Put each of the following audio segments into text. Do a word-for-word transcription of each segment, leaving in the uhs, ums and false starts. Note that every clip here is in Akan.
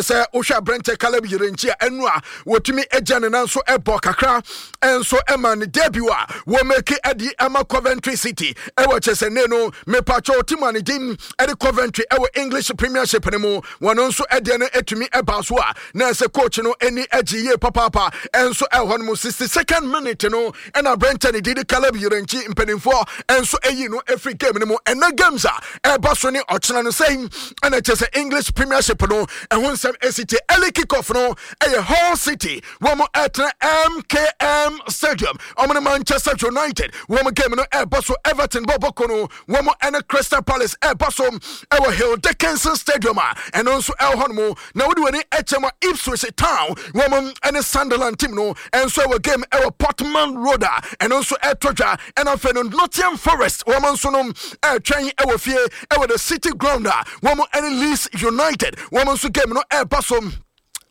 Sɛ wohwɛ aberɛnkyɛ Caleb Yirenkyi a, ɛno a wɔtumi agya ne nan so ɛbɔ kakra ɛnso ɛma ne debut a wɔmake ɛde ama Coventry City ɛwɔ kyɛ sɛ ne no mepatwɛ team a ne din ɛde Coventry ɛwɔ English Premiership no mu. Wɔn nso ɛdeɛ no ɛtumi ɛba so a, na ɛsɛ coach no ani agye yie papaapa. Ɛnso ɛwɔ no mu sixty second minute no, ɛna aberɛnkyɛ ne din de Caleb Yirenkyi, mpanimfoɔ ɛnso ɛyi no ɛfiri game no mu. Ɛnɛ games a ɛba so ne ɔkyena no sɛn ɛna kyɛ sɛ English Premiership no ɛho nsɛm ɛsi tie. Early kick-off no ɛyɛ Hull City, wɔn ɛtena M K M Stadium, wɔn ne Manchester United wɔn game no ɛɛbɔ so. Everton bɔ bɔkɔ no, wɔn ɛne Crystal Palace ɛɛbɔ so ɛwɔ Hill Dickinson Stadium a ɛno nso ɛwɔ hɔ nom. Na wode w'ani ɛkyɛ mu, Ipswich Town wɔn ɛne Sunderland team no ɛnso ɛwɔ game ɛwɔ Portman Road a ɛno nso ɛtɔ dwa. Ɛna afei no, Nottingham Forest wɔn nso no ɛretwɛn ɛwɔ fie ɛwɔ the City Ground a wɔn ɛne Leeds United wɔn nso game no ɛreba so.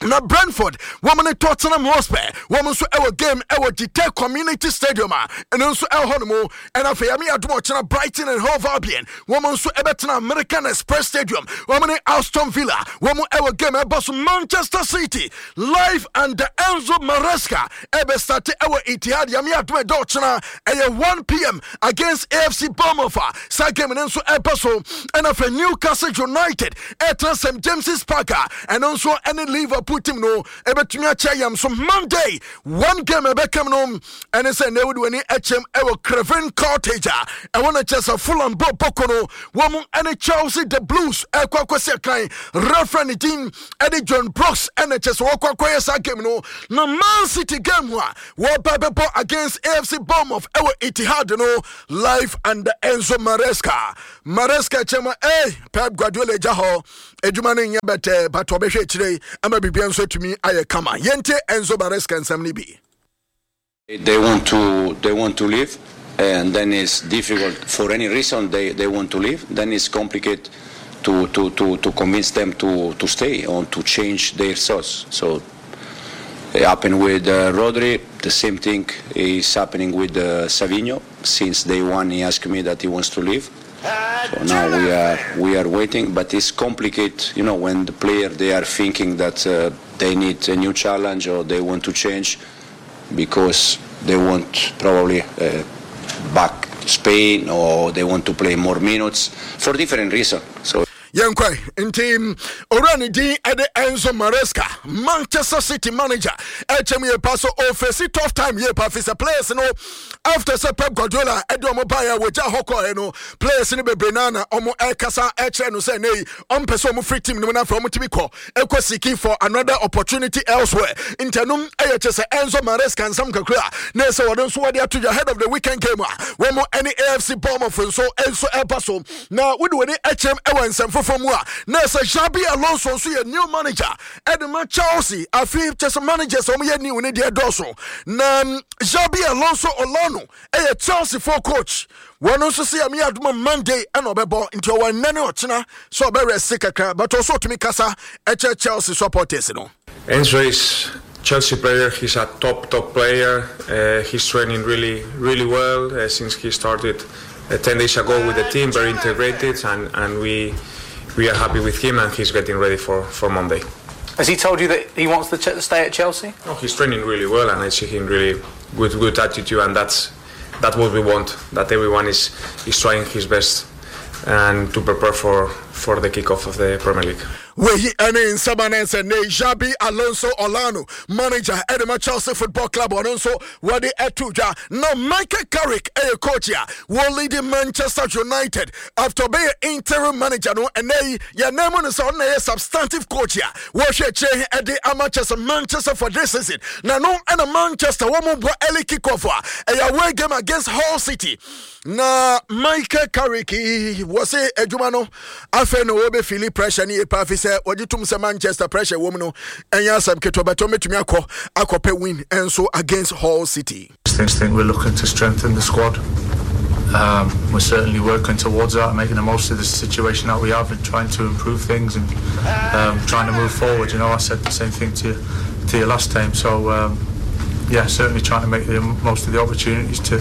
Na Brentford wɔn ne Tottenham Hotspur wɔn nso ɛwɔ game ɛwɔ Gtech Community Stadium a ɛno nso ɛwɔ hɔ nom. Ɛna afei yɛme adom ɔkyena, Brighton and Hove Albion wɔn nso ɛbɛtena American Express Stadium, wɔn ne Aston Villa wɔn ɛwɔ game ɛbɔ so. Manchester City live and the Enzo Maresca ɛbɛstart ɛwɔ Etihad, yɛme adom ɛdɔ ɔkyena ɛyɛ one p m against A F C Bournemouth a saa game no nso ɛbɛ so. Ɛna afei Newcastle United ɛtena Saint James's Park a ɛno nso ɛne Liverpool team no ɛbɛtumi akyɛ yam so. Monday, one game ɛbɛkam no ɛne sɛ na ɛwode w'ani ɛkyɛm ɛwɔ Craven Cottage a ɛwɔ no kyɛ sɛ Fulham bɔ bɔkɔ no, wɔn ɛne Chelsea, the Blues, ɛkɔ akɔsi akan. Referee ne din ɛde John Brooks ɛna kyɛ sɛ wɔkɔ akɔyɛ saa game no. Na Man City game a wɔba bɛbɔ against A F C Bournemouth ɛwɔ Etihad no, live under Enzo Maresca. Maresca kyɛm ɛ Pep Guardiola gya hɔ adwuma no nyɛ bɛtɛ, but ɔbɛhwɛ akyire ama biribia nso atumi ayɛ kama. Yɛnte Enzo Maresca nsɛm no bi. They want to they want to leave, and then it's difficult for any reason they, they want to leave. Then it's complicated to, to, to, to convince them to, to stay or to change their thoughts. So it happened with uh, Rodri. The same thing is happening with uh, Savinho. Since day one, he asked me that he wants to leave. So now we are we are waiting, but it's complicated. You know, when the player, they are thinking that uh, they need a new challenge or they want to change because they want probably uh, back Spain or they want to play more minutes for different reasons. So Yɛnkwae nti owura ne din ɛde Enzo Maresca, Manchester City manager, ɛkyɛm yɛ pa so ɔface tough time yɛ pa fi sɛ players no, after sɛ Pep Guardiola ɛde ɔmo baeɛ a wɔgya hɔ kɔɛ no, players no bebree naa na ɔmo ɛkasa ɛkyerɛ no sɛ nei ɔmpɛ sɛ ɔmo free team no mu na afei ɔmo tumi kɔ ɛkɔ seeking for another opportunity elsewhere. Ntanom ɛyɛ kyɛ sɛ Enzo Maresca nsɛm kakra na ɛsɛ wɔde nso wɔde ato dwa ahead of the weekend game a wɔn ɛne A F C Bournemouth nso nso ɛba so. Na wode w'ani ɛkyɛm ɛwɔ nsɛm foforɔ mu a, na ɛsɛ Xabi Alonso nso yɛ new manager ɛde ma Chelsea. Afei kyɛ sɛ managers a wɔyɛ new ne deɛ dɔɔso, na Xabi Alonso Olano ɛyɛ Chelsea fo coach. Wɔn nso sɛ yɛmeyɛ adoma Monday ɛna ɔbɛbɔ, nti ɔwɔ nnɛ ne ɔkyena sɛ ɔbɛrest kakra, but ɔso ɔtumi kasa ɛkyɛ Chelsea supporters no. Enzo is Chelsea player. He's a top top player. Uh, he's training really, really well uh, since he started uh, ten days ago with the team. Very integrated, and, and we we are happy with him, and he's getting ready for, for Monday. Has he told you that he wants to ch- stay at Chelsea? No, he's training really well, and I see him really good good attitude, and that's that's what we want. That everyone is is trying his best and to prepare for for the kickoff of the Premier League. Weyi ɛne nsɛm a sɛ ne Xabi Alonso Olano, manager ɛde ma Chelsea Football Club, ɔno nso wɔde ɛto dwa. Na Michael Carrick ɛyɛ coach a wɔlead Manchester United after ɔbɛyɛ interim manager no. Ɛnɛ yi yɛnan mu no sɛ ɔno na ɛyɛ substantive coach a wɔhwɛ akyire ɛde ama kyɛ Manchester for this season. Na no ɛna Manchester wɔn mo bɔ early kick off a ɛyɛ away game against Hull City. Na Michael Carrick wɔ se adwuma no afei na wɔbɛfeel pressure ne yɛ pa afi sɛ wɔgye tom sɛ Manchester pressure wɔ mu no ɛnyɛ asɛm ketewa, bɛtɔ mɛtumi akɔ akɔpɛ win ɛnso against Hull City. I think we're looking to strengthen the squad. Um, we're certainly working towards that, making the most of the situation that we have and trying to improve things and um, trying to move forward. You know, I said the same thing to you, to you last time. So, um, yeah, certainly trying to make the most of the opportunities to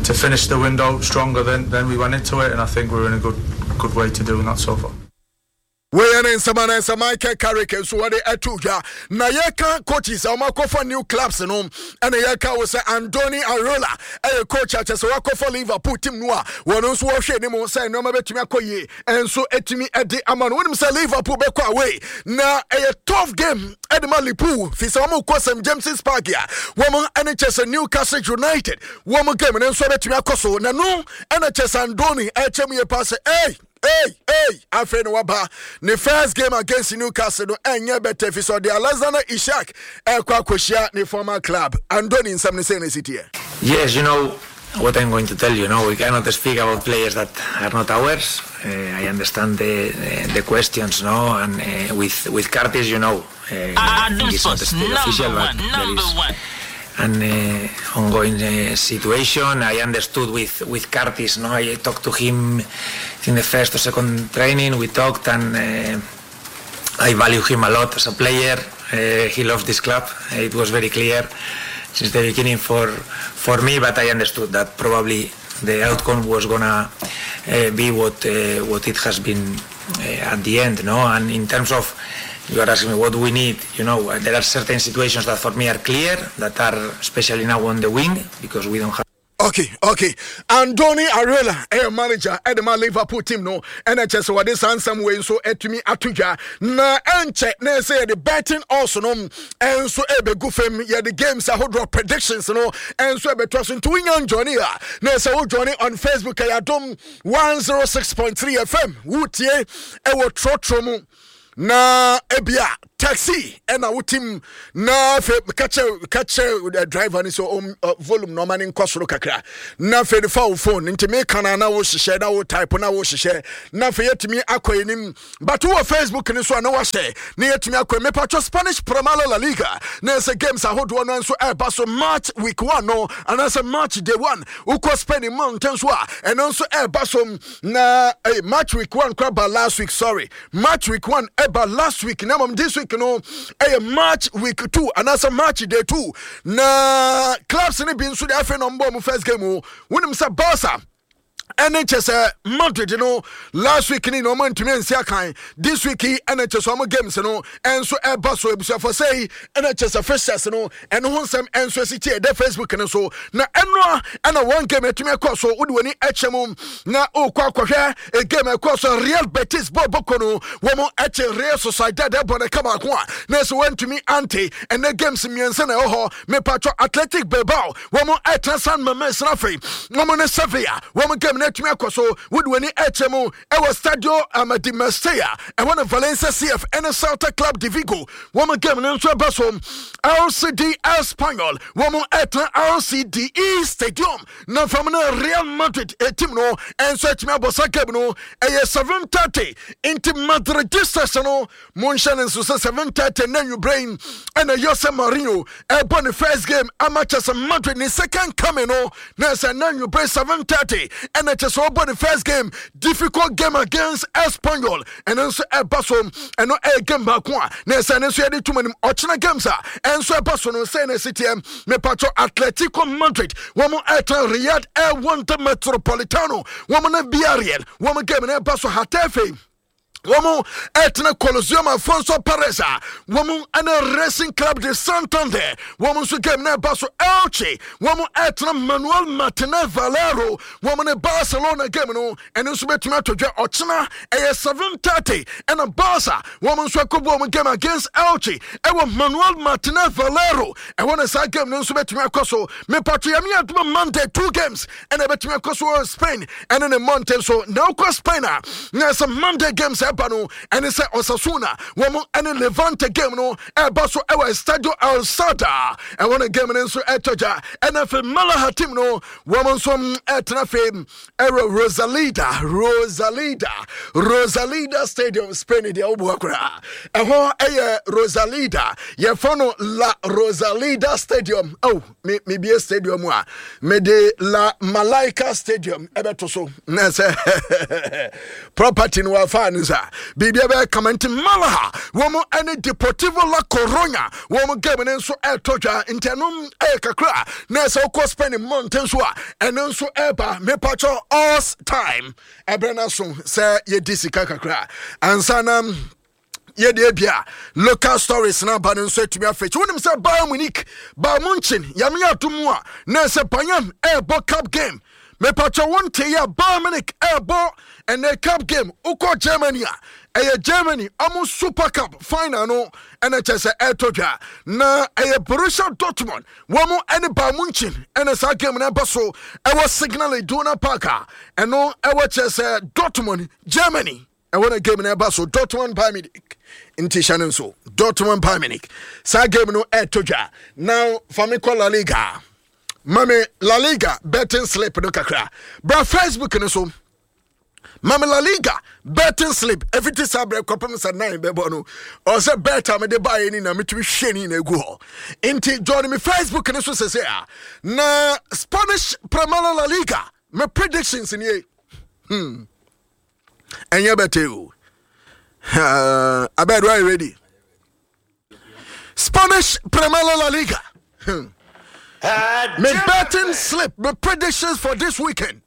to finish the window stronger than, than we went into it, and I think we're in a good good way to doing that so far. Wei ne nsɛm ana sɛ Michael Carrick nso wɔde ato dwa. Na yɛka coaches a wɔakɔfa new clubs no, ɛna yɛka wo sɛ Andoni Iraola ɛyɛ coach a kyɛ sɛ wakɔfa Liverpool team no a wɔno nso wɔhwɛ anim sɛ nneɛma bɛtumi akɔ yie ɛnso ɛtumi ɛde ama no. Wonim sɛ Liverpool bɛkɔ away na ɛyɛ tough game ɛde ma Liverpool, fi sɛ wɔn kɔ Saint James's Park a wɔn ɛne kyɛ sɛ Newcastle United wɔn game no nso bɛtumi akɔ so. Na no ɛna kyɛ sɛ Andoni ɛkyɛ mu yɛ paa sɛ ɛy hey, hey, afei na waba ne first game against Newcastle no ɛnyɛ bɛtɛ, fi sɛ ɔde Alexander Isak ɛkɔ akɔhyia ne former club. Andoni nsɛm ne sɛ ne si teɛ. Yes, you know what I'm going to tell you. No, we cannot speak about players that are not ours. Uh, I understand the, the, the questions, no, and uh, with with Curtis, you know, uh, I think it's not still official, but there is an uh, ongoing uh, situation. I understood with with Curtis, no, I talked to him in the first or second training. We talked, and uh, I value him a lot as a player. Uh, he loves this club. It was very clear since the beginning for for me, but I understood that probably the outcome was gonna uh, be what uh, what it has been uh, at the end, no. And in terms of, you are asking me what we need, you know, there are certain situations that for me are clear, that are especially now on the wing, because we don't have okay okay Andoni Iraola ɛyɛ manager ɛde ma Liverpool team no, ɛna kyɛ sɛ wɔde saa nsɛm wei nso atumi ato dwa. Na ɛnkyɛ na ɛsɛ yɛde betting also no ɛnso ɛbɛgu fam, yɛde games ahodoɔ predictions no ɛnso ɛbɛtoa so. Nti wonya njoin a, na ɛsɛ wo join on Facebook, ɛyɛ Adom one oh six point three F M. Wotie ɛwɔ trɔtrɔ mu na ebia taxi ɛna wotim na afei kakyɛ kakyɛ driver no sɛ um, uh, volume na ɔma ne nkɔ soro kakra, na afei no fa wo phone nti meka na na wohyehyɛ na wo type na wohyehyɛ, na afei yɛtumi akɔ anim. But wowɔ Facebook no so a na wahyɛ na yɛtumi akɔ. Mepatwɔ, Spanish Primera La Liga na ɛsɛ games ahodoɔ no nso ɛreba so. Match week one no anaasɛ match day one, wokɔ Spain mmɔnten so a, ɛno nso ɛreba so. Na eh, match week one kora ba last week, sorry, match week one ɛba last week, na mmom this week no ɛyɛ match week two anaasɛ match day two. Na clubs no bi nso de afei na ɔmbɔ ɔmo first game o. Wonim sɛ Barca ɛne kyɛ sɛ Madrid no last week ni na ɔmo ntumi nsi akan. This week yi ɛna kyɛ sɛ ɔmo games no ɛnso ɛba so. Ebusuafo sɛ yi ɛna kyɛ sɛ fixtures no ɛno ho nsɛm ɛnso esi tie ɛdɛ Facebook no so. Na ɛnoa ɛna one game ɛtumi ɛkɔ so, wode w'ani ɛkyɛ mu na ɔkɔ akɔhwɛ a game ɛkɔ so. Real Betis bɔ bɔkɔ no, wɔn ɛkyɛ Real Sociedad ɛbɔ ne kama ko a na ɛsɛ wɔntumi ante. Ɛnɛ games mmiɛnsa na ɛwɔ hɔ. Mepatwɔ, Athletic Bilbao wɔn ɛtena San Mames na afei wɔn ne Sevilla wɔn game no atumi akɔ so. Wode w'ani ɛkyɛ mu ɛwɔ Stadio Amadeo Mestalla, ɛwɔ no Valencia C F ɛne Celta Club de Vigo wɔn game no nso ɛba so. R C D Espanyol wɔn ɛtena R C D E Stadium na fam no Real Madrid team no ɛnso atumi abɔ sa game no ɛyɛ seven thirty. Nti Madridistas no, monhyɛ no nso sɛ seven thirty na nwuberɛ yi ɛna Jose Mourinho ɛbɔ ne first game ama kyɛ sɛ Madrid ne second coming no, na sɛ na nwuberɛ seven thirty ɛna kyɛ sɛ ɔbɔ ne first game, difficult game against Espanyol, ɛno nso ɛba so. Ɛno ɛyɛ game baako a na ɛsɛ ɛno nso yɛde tum anim. Ɔkyena games a ɛnso ɛba so no sɛ na ɛsi teɛ. Mepatwɔ, Atletico Madrid wɔn ɛtɛn Riyadh Air Wanda Metropolitano, wɔn ne Villarreal wɔn game no ɛba so. Getafe wɔn ɛtena Coliseum Alfonso Perez a wɔn ɛne Racing Club de Santander wɔn nso game na ɛba so. Elche wɔn ɛtena Manuel Martinez Valero, wɔn ne Barcelona game no ɛno nso bɛtumi atɔ dwa ɔkyena ɛyɛ seven thirty. Ɛna Barca wɔn nso akɔbɔ wɔn game against Elche ɛwɔ Manuel Martinez Valero, ɛwɔ ne saa game no nso bɛtumi akɔ so. Mepatro, yɛme adoma Monday two games ɛna ɛbɛtumi akɔ so wɔ Spain ɛne ne mmɔnten so. Na wokɔ Spain a, na sɛ Monday games ɛba no ɛne sɛ Osasuna wɔn ɛne Levante game no ɛba so ɛwɔ Estadio El Sada, ɛwɔ ne game no nso ɛtɔ gya. Ɛna afei Malaga team no wɔn nso ɛtena afei ɛwɔ Rosaleda Rosaleda Rosaleda Stadium. Spain deɛ, woboa koraa, ɛhɔ ɛyɛ Rosaleda, yɛfɔ no La Rosaleda Stadium. Oh, me mebie stadium a mede La Malaika Stadium ɛbɛto so na sɛ property no wafa no sa. a biribia bɛyɛ kama. Nti Malaga wɔn ɛne Deportivo La Coruña wɔn game no nso ɛretɔ dwa. Nti ɛno ɛyɛ kakra na ɛsɛ wokɔ Spain mmɔnten so a, ɛno nso ɛreba. Mepatwɔ os time ɛberɛ no so sɛ yɛdi sika kakra ansa na yɛde ebia local stories na aba no nso atumi afɛkyi. Wonim sɛ Bayern Munich, Bayern Munchen, Yame ato mu a na ɛsɛ Bayern ɛrebɔ cup game. Mepatwɔ wo nte yɛ, Bayern Munich ɛrebɔ ɛnɛ cup game. Wokɔ Germany a, ɛyɛ Germany ɔmo Super Cup final no ɛna kyɛ sɛ ɛretɔ dwa na ɛyɛ Borussia Dortmund wɔn ɛne Bayern Munchen ɛna saa game no ɛba so ɛwɔ Signal Iduna Park a ɛno ɛwɔ kyɛ sɛ Dortmund, Germany. Ɛwɔ na game no ɛba so, Dortmund, Bayern Munich. Nti hyɛ no nso, Dortmund, Bayern Munich, saa game no ɛretɔ dwa. Now fa me kɔ La Liga. Mame La Liga betting slip no kakra bra Facebook no so. Mame La Liga betting slip ɛfiti saa berɛ kɔpem sɛ nine bɛbɔ no, ɔsɛ bet a mede baeɛ ni na metumi hwɛ ni na ɛgu hɔ. Nti join me Facebook no so sɛsɛ a na Spanish Primera La Liga me predictions nie. hmm. Ɛnyɛ bɛtɛ o. uh, abed are you ready? Spanish Primera La Liga hmm. Me betting slip, me predictions for this weekend.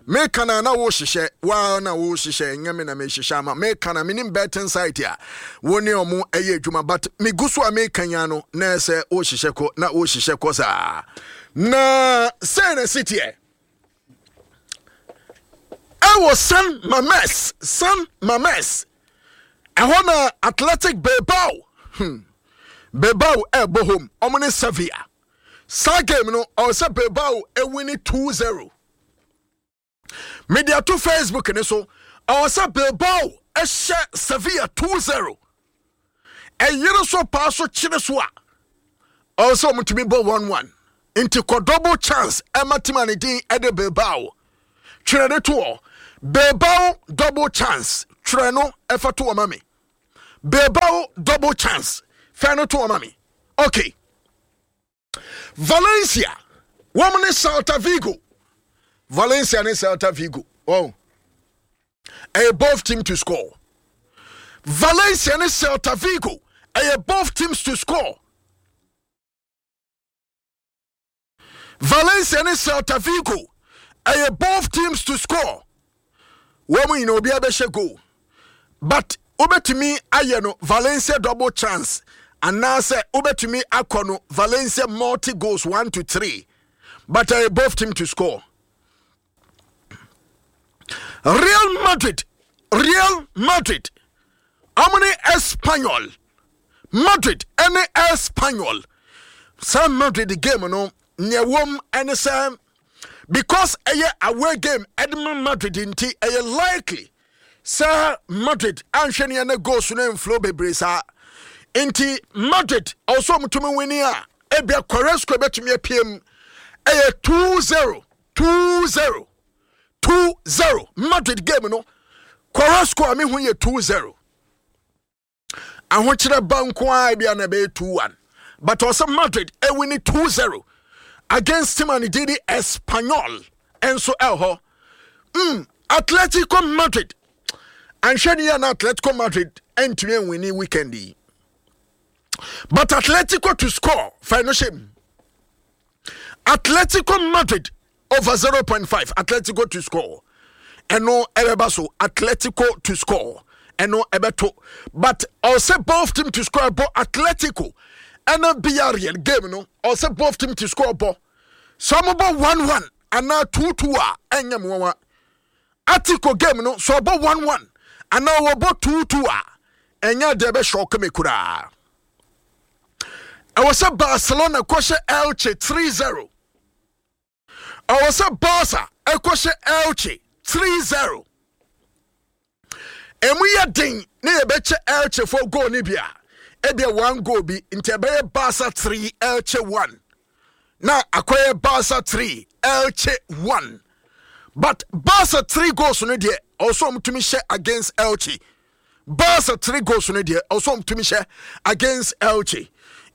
Meka na na wohyehyɛ waa na wohyehyɛ, ɛnyɛ me na mehyehyɛ ama. Meka na menim betting site a wo ne ɔmo ɛyɛ adwuma, but megu so a meka nya no na ɛsɛ wohyehyɛ kɔ na wohyehyɛ kɔ saa na sɛn na ɛsi ɛwɔ San Mames. San Mames ɛhɔ na Athletic Bilbao, hmm. Bilbao ɛɛbɔ home, ɔmo ne Sevilla. Saa game no, ɔwɔ sɛ Bilbao ɛwin two zero. Mede ato Facebook ne so. Ɔwɔ sɛ Bilbao ɛhyɛ Sevilla two zero. Ɛyere so paa so kyere so a, ɔwɔ sɛ ɔmotumi bɔ one one. Nti kɔ double chance ɛma team a ne din ɛde Bilbao. Twerɛ ne toɔ, Bilbao double chance. Twerɛ no ɛfa toɔ ma me, Bilbao double chance. Fɛ no toɔ ma me. Okay, Valencia wɔn ne Celta Vigo. Valencia ne Celta Vigo, oh, ɛyɛ both team to score. Valencia ne Celta Vigo, ɛyɛ both teams to score. Valencia ne Celta Vigo, ɛyɛ both teams to score. Wɔn mu nyinaa obiara bɛhyɛ goal, but wobɛtumi ayɛ no Valencia double chance anaasɛ wobɛtumi akɔ no Valencia multi goals one to three, but ɛyɛ both team to score. Real Madrid, Real Madrid ɔmo ne Espanyol. Madrid ɛne Espanyol, saa Madrid game no, nea wɔm ɛne sɛ because ɛyɛ away game ɛde ma Madrid, nti ɛyɛ likely sɛ Madrid anhwɛ ne ɛne goals no mflow bebree saa. Nti Madrid ɔwɔ ɔmotumi win a, ebia Carrasco bɛtumi apiem. Ɛyɛ two zero, two zero, two zero. Madrid game no, Carrasco a mehu yɛ two zero. Ahokyerɛ ba nko a bia na ɛbɛyɛ two one, but ɔsɛ Madrid ɛwin two zero against team a ne din de Espanyol. Ɛnso ɛwɔ mm, Atletico Madrid anhwɛ ne yɛ na Atletico Madrid ɛntumi ɛnwin weekend yi, but Atletico to score, fa no hyɛ mu. Atletico Madrid over zero point five, Atletico to score, ɛno ɛbɛba so. Atletico to score, ɛno ɛbɛto, but ɔsɛ both team to score bɔ. Atletico ɛna Villarreal game no, ɔsɛ both team to score bɔ. Sɛ ɔmo bɔ one one anaa two two a, ɛnyɛ mo nwanwa. Atletico game no, sɛ ɔbɔ one one anaa wɔbɔ two two a, ɛnyɛ deɛ ɛbɛhyɛ me koraa. Ɛwɔ sɛ Barcelona kɔhyɛ Elche three zero. Ɛwɔ sɛ Barca ɛkɔhyɛ Elche three zero. Emu yɛ den ne yɛbɛkyɛ Elche fo goal ne bi a, ebia one goal bi. Nti ɛbɛyɛ Barca three, Elche one, na akɔyɛ Barca three, Elche one. But Barca three goals no deɛ, ɔsɔ ɔmo tumi hyɛ against Elche. Barca three goals no deɛ, ɔsɔ ɔmo tumi hyɛ against Elche.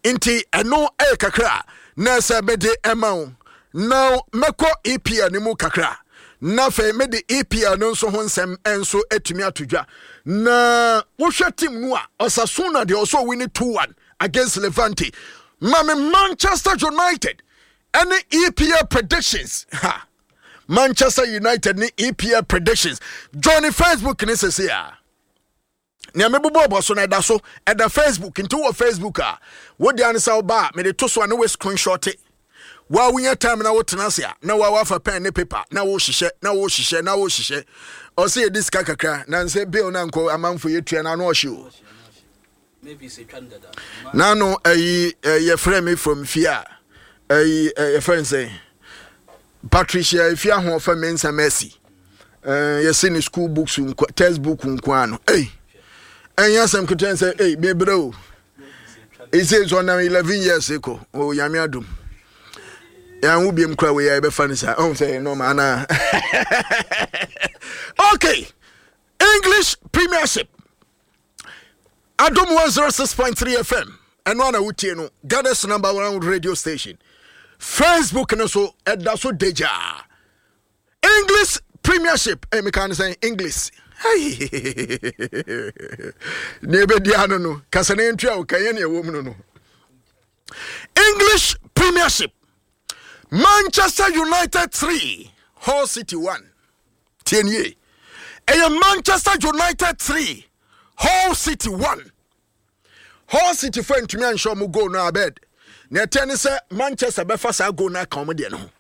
Nti ɛno ɛyɛ kakra na ɛsɛ mɛde ɛma wo. Now mɛkɔ E P L ne mu kakra Na afei mede E P L no nso ho nsɛm nso atumi ato dwa. Na wohwɛ team no a, Osasuna deɛ, ɔsɛ ɔwin two one against Levante. Mame Manchester United ɛne E P L predictions ha, Manchester United ne E P L predictions. Join Facebook ne sese a nea mebobɔ bɔ so no ɛda so, ɛda Facebook. Nti wɔ Facebook a, wode ane sɛ woba a, mede to so a ne wo screenshot wa wonya time na wotena ase a, na wa wafa pen ne paper na wohyehyɛ na wohyehyɛ na wohyehyɛ. Ɔsɛ yɛdi sika kakra na nsɛ bill na nkɔ amanfo yɛtua na ano ɔhye o. Nano ɛyi, yɛfrɛ me from fie a, ɛyi, yɛfrɛ n sɛ Patricia Efi Ahoɔfɛ Mensa Mercy. Yɛsi ne school books nko, textbook nko ano. Ɛyi ɛnyɛ asɛm ketewa sɛ ɛyi bebree o. Ɛsɛ sɛ ɔnam eleven years kɔ o. Nyame adom, yɛn ho biem kora wei a yɛbɛfa no saa, ɔhu sɛ ɛyɛ normal anaa? Okay, English Premiership, Adom one oh six point three F M, ɛno ana wotie no, Ghana's number one radio station. Facebook no so ɛda so degyaa. English Premiership, eh, meka no sɛ English ne ɛbɛdi ano no kasa no ntua wo kɛyɛ ne ɛwɔ mu no no English Premiership, Manchester United three, Hull City one. Tie nie, ɛyɛ Manchester United three, Hull City one. Hull City fo ntumi anhyɛ ɔmo goal no abed na ɛtɛ ne sɛ Manchester bɛfa saa goal no aka ɔmo deɛ no ho,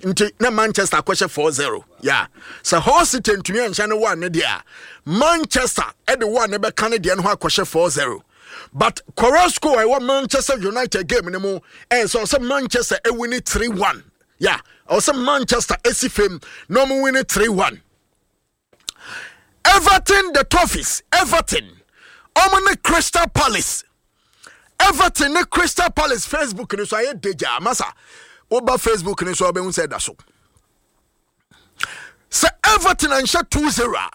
nti na Manchester akɔhyɛ four zero. Ya sɛ Hull City ntumi anhyɛ no one ne deɛ a, Manchester ɛde one ne bɛka ne deɛ no ho akɔhyɛ four zero. But correct score a ɛwɔ Manchester United game no mu ɛyɛ sɛ ɔsɛ Manchester ɛwin three one. Ya, ɔsɛ Manchester ɛsi fam na ɔmo win three one. Everton, the Toffees, Everton ɔmo ne Crystal Palace. Everton ne Crystal Palace, Facebook no so ayɛ degya masa. Woba Facebook no so a, wobɛhu sɛ ɛda so sɛ Everton anhyɛ two zero a,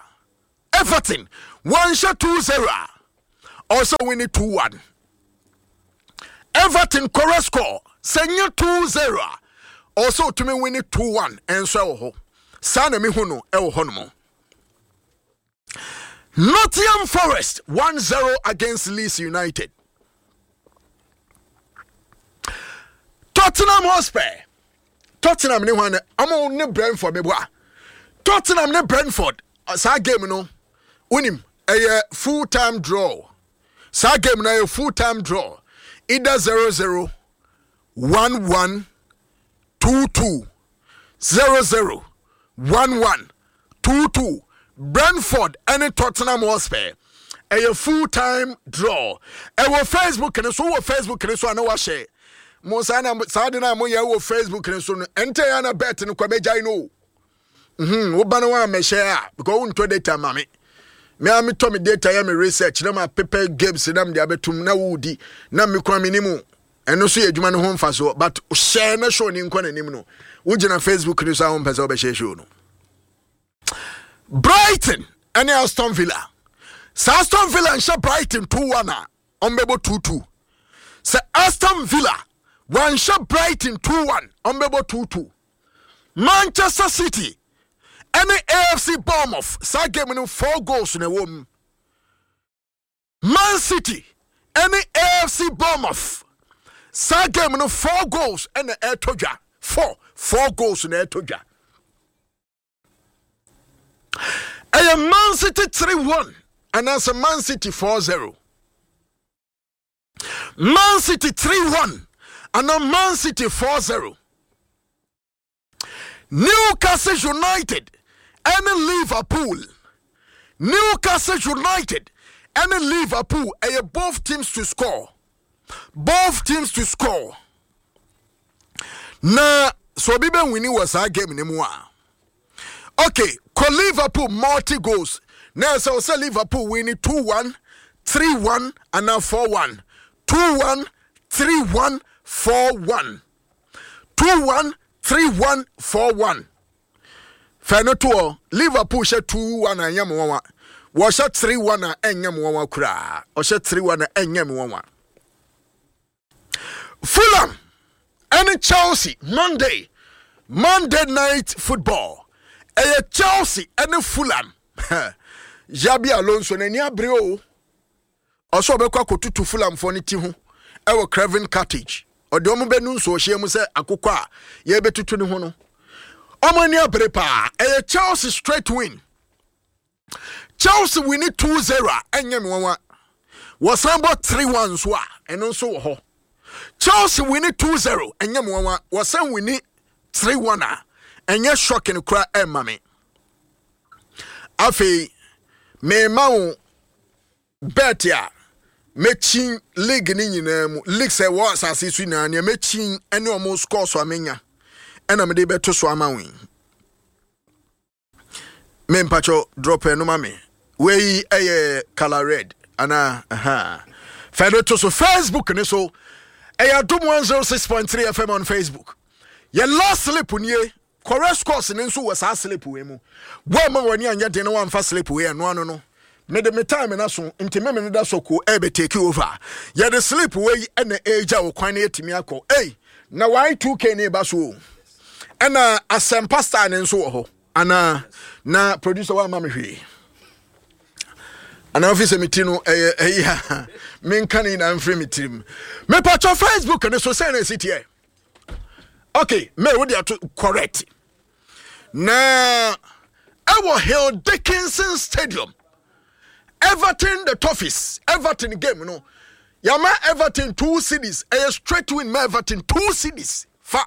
Everton wanhyɛ two zero a, ɔsɛ win two one. Everton correct score, sɛ nyɛ two zero a, ɔsɛ otumi win two one. Ɛnso ɛwɔ hɔ saa na mehu no ɛwɔ hɔ nom. Nottingham Forest one zero against Leeds United. Tottenham Hotspur, Tottenham ne hwan? Ɔmo ne Brentford. Meboa, Tottenham ne Brentford, saa game no wonim ɛyɛ full time draw. Saa game no ɛyɛ full time draw, either zero zero, one one, two two, zero zero, one one, two two. Brentford ɛne Tottenham Hotspur ɛyɛ full time draw. Ɛwɔ Facebook ne so. Wɔ Facebook ne so a, na wahyɛ mo saa na saa de na moyɛ wɔ Facebook ne so no, ɛntɛ yɛ na bet no kɔ bɛgyae no mhm woba no wa mɛhyɛ a, because wontɔ data ma me. Me a metɔ me data, yɛ me research na ma prepare games na mede abɛtum na wodi na me kora me nimu. Ɛno nso yɛ adwuma no ho mfasoɔ, but hyɛ na show ne nkɔ n'anim no, wogyina Facebook no so a, wompɛ sɛ wobɛhyɛ show no. Brighton ɛne Aston Villa. Sɛ Aston Villa nhyɛ Brighton two one a, ɔmbɛbɔ two two. Sɛ Aston Villa wanhyɛ Brighton two one, ɔmbɛbɔ two two. Manchester City ɛne A F C Bournemouth, saa game no four goals na ɛwɔ mu. Man City ɛne A F C Bournemouth, saa game no four goals ɛna ɛtɔ dwa. Four four goals na ɛtɔ dwa. Ɛyɛ Man City three one anaasɛ Man City four zero. Man City three one anaa Man City four zero. Newcastle United ɛne Liverpool. Newcastle United ɛne Liverpool, ɛyɛ both teams to score, both teams to score. Na sɛ obi bɛ win wɔ saa game ne mu a, okay, kɔ Liverpool multi goals na ɛsɛ ɔsɛ Liverpool win two one, three one anaa four one. two one, three one, four one. two one, three one, four one. Fɛ no toɔ, Liverpool hyɛ two one a, ɛnyɛ mo nwanwa. Wɔhyɛ three one a, ɛnyɛ mo nwanwa koraa. Ɔhyɛ three one a, ɛnyɛ mo nwanwa. Fulham ɛne Chelsea, Monday, Monday Night Football. Ɛyɛ Chelsea ɛne Fulham. Xabi Alonso n'ani abere o. Ɔsɛ ɔbɛkɔ akɔtutu Fulhamfoɔ no ti ho ɛwɔ Craven Cottage. Ɔde ɔmo bɛnu nsuohyɛ mu sɛ akokɔ a yɛbɛtutu ne ho no. Ɔmo ani abere paa. Ɛyɛ Chelsea straight win. Chelsea win two zero a, ɛnyɛ me nwanwa. Wɔsan bɔ three one nso a, ɛno nso wɔ hɔ. Chelsea win two zero, ɛnyɛ me nwanwa. Wɔsan win three one a, ɛnyɛ shocking kora ɛmma me. Afei mema wo bet a mɛkyin league ne nyinaa mu, league sɛ ɛwɔ asase so nyinaa, nea mɛkyin ne ɔmo score so a menya ɛna mede bɛto so ama wo yi. Me mpakyɛw, drop ɛno ma me. Wei ɛyɛ color red anaa? Aha, fɛ no to so Facebook ne so. Ɛyɛ Adom one oh six point three F M on Facebook. Yɛ last slip nie. Correct scores ne nso wɔ saa slip wei mu. Wɔama w'ani anyɛ den na wɔamfa slip wei ɛno ano no, mede me time na so nti meme no da so ko ɛbɛ take over. Yɛde slip wei ɛna ɛgya wo kwan na yɛtumi akɔ. Ei, na Y two K ne ba so o, ɛna Asɛmpa Star ne nso wɔ hɔ anaa? Na producer wa ama me hwee anaa? Ofi sɛ me ti no ɛyɛ ɛyi a menka ne nyinaa mfiri me tirim. Mepatwɔ, Facebook ne so sɛ na ɛsi teɛ. Okay, may wode ato correct na ɛwɔ Hill Dickinson Stadium, Everton the Toffees. Everton game no, yàmà Everton two cedis. Ɛyɛ straight win ma Everton, two cedis fa.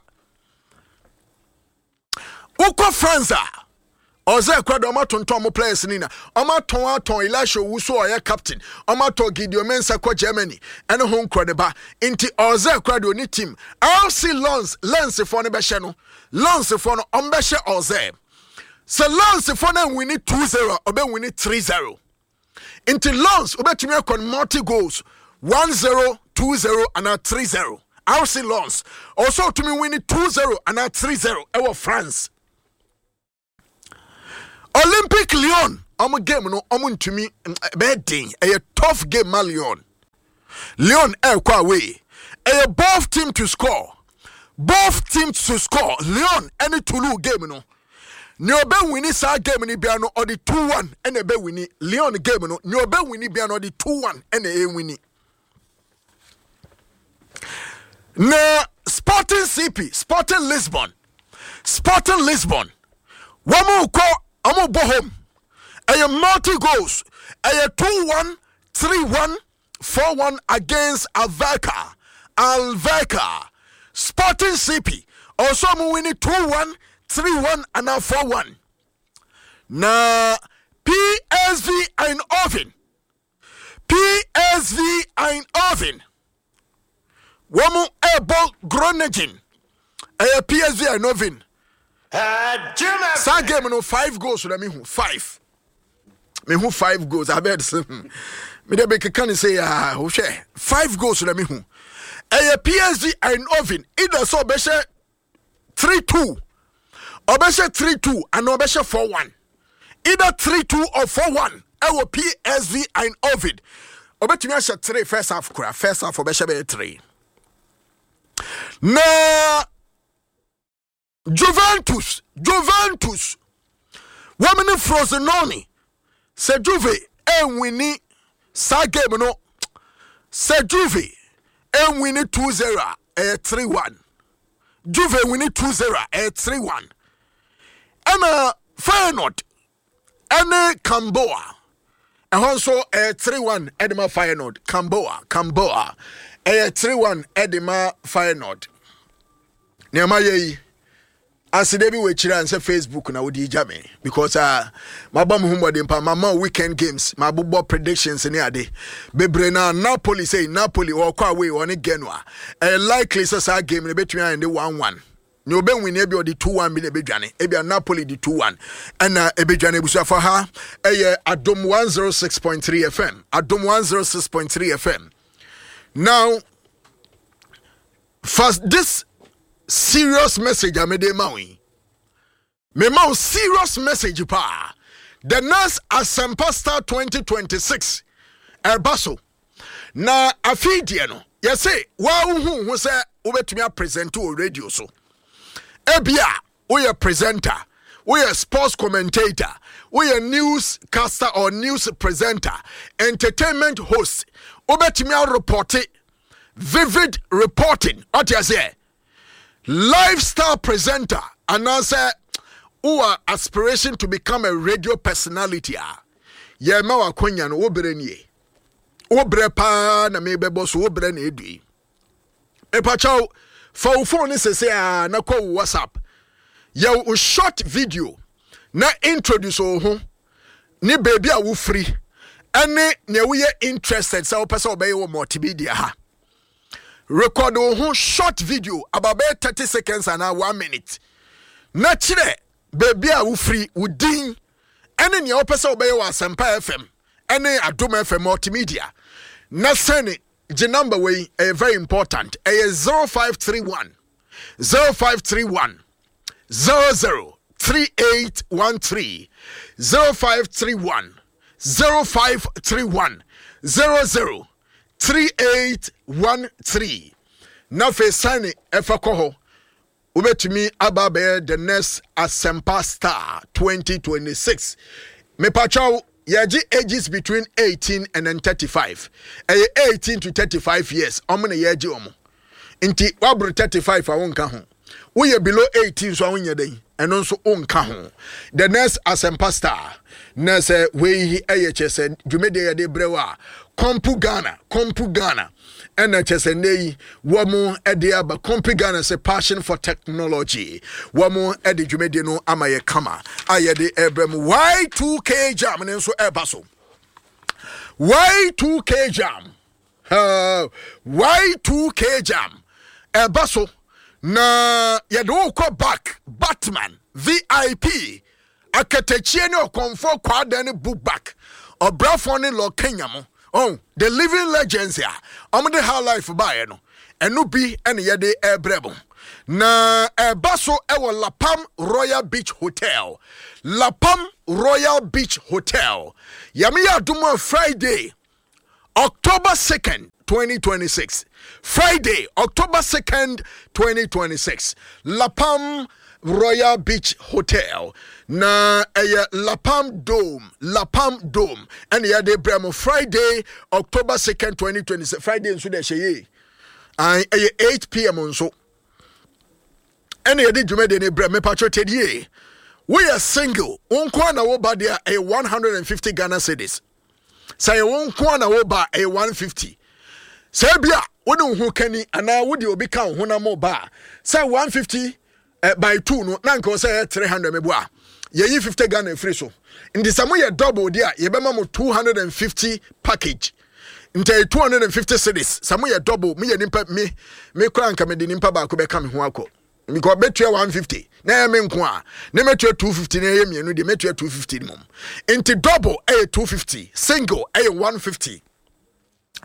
Wokɔ France a, ɔsɛ ɛkora de ɔmo atontɔn ɔmo players ni na ɔmo atɔn atɔn Elisha Owusu a ɔyɛ captain. Ɔmo atɔn Gideon Mensah kɔ Germany ɛne ho nkorɔ ne ba, nti ɔsɛ ɛkora de oni team R C Lens. Lens foɔ no bɛhyɛ no. Lens foɔ no, ɔmo bɛhyɛ ɔsɛ sɛ Lens foɔ no nwini two zero, ɔbɛwini three zero. Nti Lens wobɛtumi akɔ no multi goals, one zero, two zero anaa three zero. R C Lens ɔsɛ ɔtumi wini two zero anaa three zero ɛwɔ France. Olympic Lyon ɔmo game no, ɔmo ntumi, bɛyɛ den. Ɛyɛ tough game ma Lyon. Lyon ɛɛkɔ away. Ɛyɛ both team to score, both teams to score. Lyon ɛne Toulouse game no, nea ɔbɛwini saa game no bia no, ɔde two one ɛna ɛbɛwini. Lyon game no, nea ɔbɛwini bia no, ɔde two one ɛna ɛwini. Na Sporting C P, Sporting Lisbon, Sporting Lisbon wɔn kɔ, wɔn bɔ home. Ɛyɛ multi goals. Ɛyɛ two one, three one, four one against Alverca. Alverca, Sporting C P ɔsɔ wɔn wini two one, three one anaa four one. Na P S V Eindhoven, P S V Eindhoven wɔn ɛrebɔ Groningen. Ɛyɛ P S V Eindhoven. Saa game no, five goals na mehu. Five, mehu five goals abed sɛ mede bɛkeka ne sɛ yaa wohwɛ, five goals na mehu. Ɛyɛ P S V Eindhoven, either sɛ ɔbɛhyɛ three two, ɔbɛhyɛ three two anaa ɔbɛhyɛ four one. Either three two or four one ɛwɔ P S V Eindhoven. Ɔbɛtumi ahyɛ three first half kora. First half ɔbɛhyɛ bɛyɛ three. Na Juventus, Juventus wɔn ne Frosinone. Sɛ Juve ɛnwini saa game no, sɛ Juve ɛnwini two zero a, ɛyɛ three one. Juve wini two zero a, ɛyɛ three one. Ɛna Feyenoord ɛne Camboa, ɛhɔ nso ɛyɛ three one ɛde ma Feyenoord. Camboa, Camboa ɛyɛ three one ɛde ma Feyenoord. Nneɛma yɛ yi asede bi wɔ akyire a nsɛ Facebook na wode gya me because uh, mabɔ me ho mmɔden pa. Mama weekend games, mabobɔ predictions ne ade bebree. Na Napoli sɛ Napoli ɔkɔ away, ɔne Genoa. Ɛyɛ likely sɛ saa game no bɛtumi ayɛ de one one. Nea ɔbɛwini, ebi ɔde two one bi na ebɛdwane. Ebi a Napoli de two one ɛna ebɛdwane. Ebusuafo, ha ɛyɛ Adom one oh six point three F M, Adom one oh six point three F M. Now first, this serious message a mede ma wo yi, mema wo serious message paa. The next Asɛmpa Star twenty twenty-six ɛba so na afei deɛ no, yɛse waa wohu ho sɛ wobɛtumi apresent wɔ radio so. Ebia woyɛ presenter, Woyɛ sports commentator, woyɛ news caster or news presenter, entertainment host, wobɛtumi areport, vivid reporting, ɔte aseɛ, lifestyle presenter, anaasɛ wowɔ aspiration to become a radio personality a, yɛma wakonya no. Wo berɛ nie, wo berɛ paa na mebɛbɔ so, wo berɛ na ɛdu yi. Mepakyɛw, fa wo phone ne sese a na kɔ wo WhatsApp, yɛ wo short video na introduce wo ho ne baabi a wofiri ɛne nea woyɛ interested sɛ wopɛ sɛ wobɛyɛ wɔ multimedia ha. Record wo ho short video about bɛyɛ thirty seconds anaa one minute na kyerɛ baabi a wofiri, wo din ɛne nea wopɛ sɛ wobɛyɛ wɔ Asɛmpa F M ɛne Adom F M multimedia, na sɛne gye number wei. Ɛyɛ very important. Ɛyɛ zero five three one zero five three one zero zero three eight one three, zero five three one zero five three one zero zero three eight one three, na afei sane ɛfa kɔ hɔ. Wobɛtumi aba abɛyɛ the next Asɛmpa Star twenty twenty-six. Mepakyɛw, yɛgye ages between eighteen and then thirty-five. Ɛyɛ eighteen to thirty-five years ɔmo na yɛgye ɔmo. Nti waboro thirty-five a, wonka ho. Woyɛ below eighteen so a, wonyɛ dɛn, ɛno nso wonka ho. The next Asɛmpa Star na sɛ wei ɛyɛ kyɛ sɛ dwumadie yɛde brɛ wo a, Compu Ghana, Compu Ghana ɛna kyɛ sɛ nnɛ yi wɔn ɛde aba. Compu Ghana sɛ passion for technology, wɔn ɛde dwumadie no ama yɛ kama a yɛde ɛbrɛ mu. Y two K Jam ne nso ɛba so. Y two K Jam, uh, Y two K Jam ɛba so na yɛde wo kɔ back. Batman, V I P, Akatakyie ne Ɔkɔmfoɔ Kwaada ne book back, Ɔbrafoɔ ne Lɔ Kenya mo, oh, the living legends a ɔmode high life baeɛ no, ɛno bi ɛne yɛde ɛbrɛ mo na ɛba so ɛwɔ Lapam Royal Beach Hotel, Lapam Royal Beach Hotel. Yɛme yɛ adom a, Friday, October second, twenty twenty-six. Friday, October second, twenty twenty-six. Lapam Royal Beach Hotel. Na ɛyɛ Lapam Dome, Lapam Dome. Ɛne yɛde brɛ mo Friday, October second, twenty twenty-six. Friday nso de ɛhyɛ yie. Ɛyɛ eight p m nso. Ɛne yɛde dwumadie no brɛ. Mepatwo tɛdie. Woyɛ single, wo nko na woba deɛ, ɛyɛ one hundred fifty Ghana cedis. Sɛ ɛyɛ wo nko na woba, ɛyɛ one fifty. Sɛ ebi a wode wo ho kani anaa wode obi ka wo ho na mo ba a, sɛ one fifty eh, by two no na nka sɛ ɛyɛ three hundred. Mebo a, yɛyi fifty Ghana afiri so. Nti sɛ moyɛ double deɛ a, yɛbɛma mo two hundred fifty package. Nti ɛyɛ two hundred fifty cedis sɛ moyɛ double. Moyɛ nipa me me kora nka mede nipa baako bɛka me ho akɔ because bɛtua one fifty na ɛyɛ me nko a, ne mɛtua two fifty, na ɛyɛ mmienu deɛ, mɛtua two fifty mom. Nti double ɛyɛ two fifty, single ɛyɛ one fifty.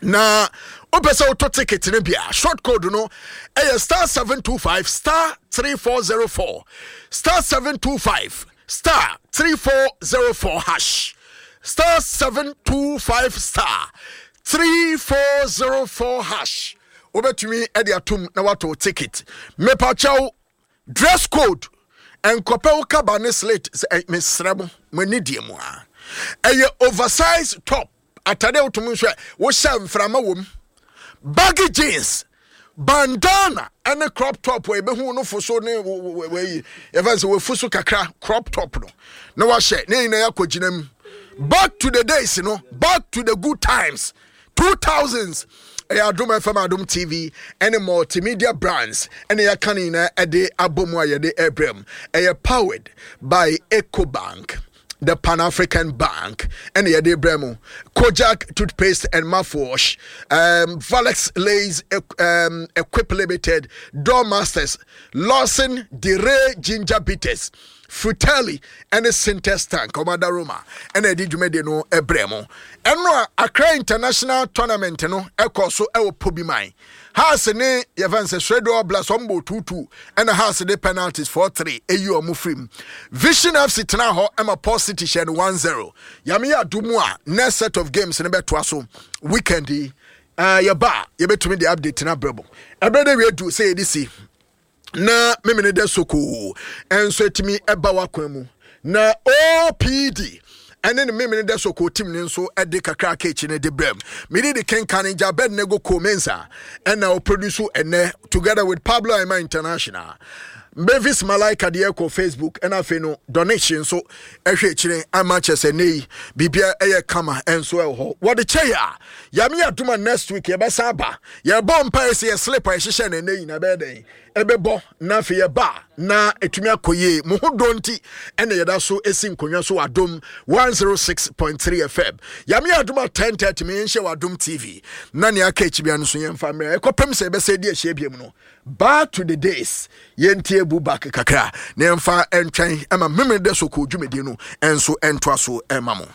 Na wopɛ sɛ wotɔ ticket no bi a, short code no ɛyɛ star seven two five star three four zero four, star seven two five star three four zero four hash, star seven two five star three four zero four hash. Wobɛtumi de atom na wato ticket. Mepakyɛw, dress code, nkɔpɛ wo kaba ne slit. Mesrɛ mo, mo ani deɛ mu a, ɛyɛ oversize top atade a wotum nso a wohyɛ mframa wɔ mu, baggy jeans, bandana ɛne crop top a yɛbɛhu no fo so ne wɔyi yɛfɛ sɛ wɔafu so kakra. Crop top no na wahyɛ ne nyinaa yɛakɔ gyina mu. Back to the days no, back to the good times, two thousands. Ɛyɛ Adom F M, Adom T V ɛne Multimedia Brands ɛne yɛaka no nyinaa ɛde abɔ mu a yɛde ɛbrɛ mu. Ɛyɛ powered by Ecobank, the Pan African Bank, ɛne yɛde brɛ mu Kojak toothpaste and mouthwash, um, Valex Lays, um, Equip Limited, Door Masters, Lawson Dire Ginger Bitters, Fratelli ɛne Sintex Tank ɔmada Roma ɛna ɛde dwumadie no ɛbrɛ mu. Ɛno a Accra International Tournament no ɛkɔ so ɛwɔ Pobiman. Hearts ne yɛfɛn sɛ Swedru Blast, ɔmo bɔ two two, ɛna Hearts de penalties four three eyi ɔmo firim. Vision F C tena hɔ ɛma Port City hyɛ no one zero. Yame yɛ adumu a, next set of games no bɛtoa so weekend yi. uh, yɛba a, yɛbɛtumi de update no abrɛ mo. Ɛberɛ de wie du sɛ yɛde si Na memene dɛ sokoo ɛnso atumi ɛba w'akwan mu na O P D ɛne ne memene dɛ sokoo team ne nso ɛde kakra aka akyi no de brɛm. Mede de kenkan gya Abednego Comensa ɛna ɔproduce ɛnɛ together with Pablo Aima International, Mavis Malaika deɛ kɔ Facebook, ɛna afei no donation nso ɛhwɛ akyire ama kyerɛ sɛ ne yi biribia ɛyɛ kama. Ɛnso ɛwɔ hɔ wɔde kyɛ yɛ a Yame adoma. Next week yɛbɛsan aba. Yɛbɔ mpa sɛ yɛ slip a yɛhyehyɛ no ɛnɛ nyina ɛbɛyɛ dɛn ɛbɛbɔ na afei yɛba na ɛtumi akɔ yie. Mo ho dɔ nti ɛna yɛda so ɛsi nkonnwa so wɔ Adom one oh six point three F M. Yame adoma ten thirty me yɛnhyɛ wɔ Adom T V na nea aka akyi bia no so yɛmfa mmerɛ ɛkɔpem sɛ yɛbɛsɛ di ahyia biam no. Back to the days, yɛntie bu back kakra na yɛmfa ntwɛn ɛma memere dɛ so kɔ dwumadie no ɛnso ɛntoa so ɛma mo.